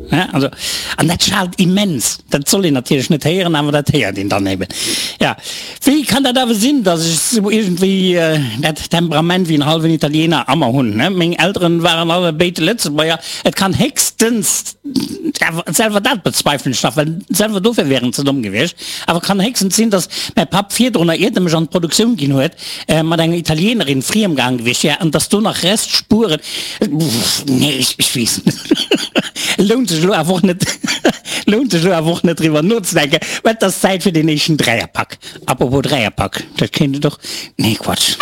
Also, an dat schaalt immens. Dat soll een natierlech net héieren, awer dat héiert een dann eben. Ja, wéi kann dat awer sinn, datt ech esou iergendwéi dat Temperament wéi en hallwen Italiener a mer hunn, ne? Meng Elteren waren allebéid Lëtzebuerger. Et kann héchstens, awer selwer dat bezweifelen ech nach, well selwer dofir wär en ze domm gewiescht, awer kann héchstens sinn, datt mäi Papp virdrunner, iert e mech an d'Produktioun ginn huet, mat enger Italienerin friemgaang gewiescht wär an dass do nach Restspuren, nee, ech weess net, lount sech elo awer och net, lount sech elo awer och net driwwer nozedenken, well et ass Zäit fir deen éischten Dräierpak. Apropos Dräierpak, dat kéint et och, nee Quatsch.